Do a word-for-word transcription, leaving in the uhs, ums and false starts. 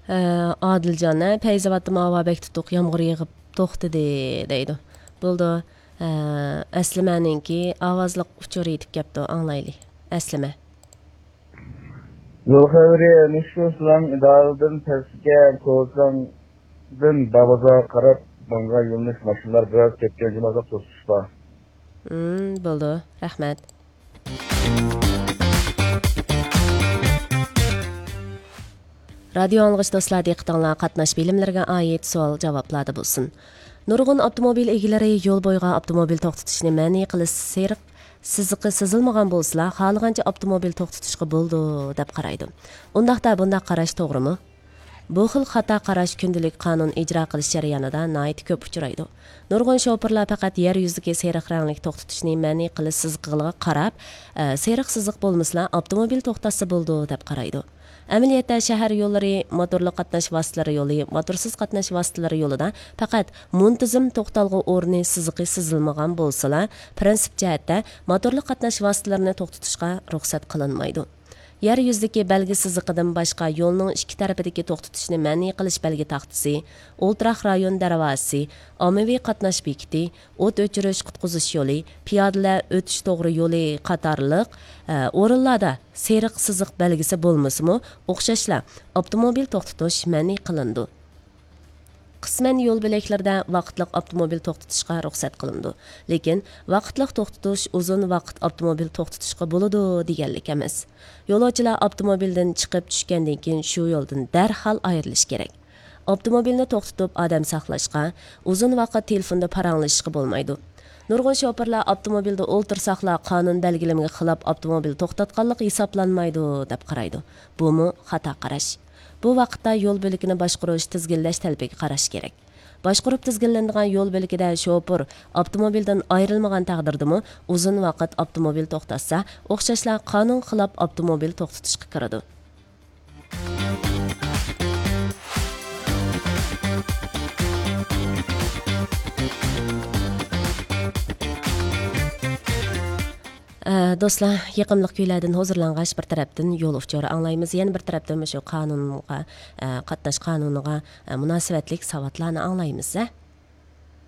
ئە، ئادىلجان، ھە، پەيزاۋاتتىمۇ ھاۋا بەك تۇتۇق، يامغۇر يېغىپ توختىدى دەيدۇ. بولىدۇ. ئە، ئەسلىمەنىڭكى ئاۋازلىق ئۇچۇرى يېتىپ كەپتۇ، ئاڭلايلى. ئەسلىمە. يول خەۋىرى، نېمىشقا سىلەڭ ئىدارىدىن پەسكە، كوزاڭدىن داۋازاغا قاراپ ماڭغان يۆنىلىش ماشىنىلار بىراز كەتكەن جۇمۇ، ئازراق توسۇش بار. ھىم، بولىدۇ. رەھمەت. رادىيو ئاڭلىغۇچى دوستلار، دىققىتىڭلار قاتناش بىلىملىرىگە ئائىت سوئال جاۋابلاردا بولسۇن. نۇرغۇن ئاپتوموبىل ئىگىلىرى يول بويىغا ئاپتوموبىل توختىتىشنى مەنئى قىلىش سېرىق سىزىقى سىزىلمىغان بولسىلا، خالىغانچە ئاپتوموبىل توختىتىشقا بولىدۇ، دەپ قارايدۇ. ئۇنداقتا بۇنداق قاراش توغرىمۇ؟ بۇ خىل خاتا قاراش كۈندىلىك قانۇن ئىجرا قىلىش جەريانىدا ناھايىتى كۆپ ئۇچرايدۇ. نۇرغۇن شوپۇرلار پەقەت يەر يۈزىدىكى سېرىق رەڭلىك توختىتىشنى مەنئى قىلىش سىزىقىغا قاراپ، ئە، سېرىق سىزىق بولمىسىلا، ئاپتوموبىل توختاتسا بولىدۇ، دەپ قارايدۇ. ئەمەلىيەتتە، شەھەر يوللىرى، موتورلۇق قاتناش ۋاسىتىلىرى يولى، موتورسىز قاتناش ۋاسىتىلىرى يولىدا پەقەت مۇنتىزىم توختالغۇ ئورنى سىزىقى سىزىلمىغان بولسىلا، پىرىنسىپ جەھەتتە موتورلۇق قاتناش ۋاسىتىلىرىنى توختىتىشقا رۇخسەت قىلىنمايدۇ. يەر يۈزىدىكى بەلگە سىزىقىدىن باشقا يولنىڭ ئىككى تەرىپىدىكى توختىتىشنى مەنئى قىلىش بەلگە تاختىسى، ئولتۇراق رايون دەرۋازىسى، ئاممىۋى قاتناش بېكىتى، ئوت ئۆچۈرۈش قۇتقۇزۇش يولى، پىيادىلەر ئۆتۈش توغرا يولى قاتارلىق، ئە، ئورۇنلاردا سېرىق سىزىق بەلگىسى بولمىسىمۇ، ئوخشاشلا ئاپتوموبىل توختىتىش مەنئى قىلىنىدۇ. قىسمەن يول بۆلەكلىرىدە ۋاقىتلىق ئاپتوموبىل توختىتىشقا رۇخسەت قىلىنىدۇ. لېكىن ۋاقىتلىق توختىتىش ئۇزۇن ۋاقىت ئاپتوموبىل توختىتىشقا بولىدۇ دېگەنلىك ئەمەس. يولۇچىلار ئاپتوموبىلدىن چىقىپ چۈشكەندىن كېيىن شۇ يولدىن دەرھال ئايرىلىشى كېرەك. ئاپتوموبىلنى توختىتىپ ئادەم ساقلاشقا، ئۇزۇن ۋاقىت تېلېفوندا پاراڭلىشىشقا بولمايدۇ. نۇرغۇن شوپۇرلار ئاپتوموبىلدا ئولتۇرساقلا قانۇن بەلگىلىمىگە خىلاپ ئاپتوموبىل توختاتقانلىق ھېسابلانمايدۇ، دەپ قارايدۇ. بۇمۇ خاتا قاراش. بۇ ۋاقىتتا يول بۆلىكىنى باشقۇرۇش، تىزگىنلەش تەلىپىگە قاراش كېرەك. باشقۇرۇپ تىزگىنلىنىدىغان يول بۆلىكىدە شوپۇر ئاپتوموبىلدىن ئايرىلمىغان تەقدىردىمۇ ئۇزۇن ۋاقىت ئاپتوموبىل توختاتسا، ئوخشاشلا قانۇنغا خىلاپ ئاپتوموبىل توختىتىشقا كىرىدۇ. ئە، دوستلار، يېقىملىق كۈيلەردىن ھۇزۇرلانغاچ، بىر تەرەپتىن يول ئۇچۇرى ئاڭلايمىز، يەنە بىر تەرەپتىن مۇشۇ قانۇنغا، ئە، قاتناش قانۇنىغا، ئە، مۇناسىۋەتلىك ساۋاتلارنى ئاڭلايمىز، ھە؟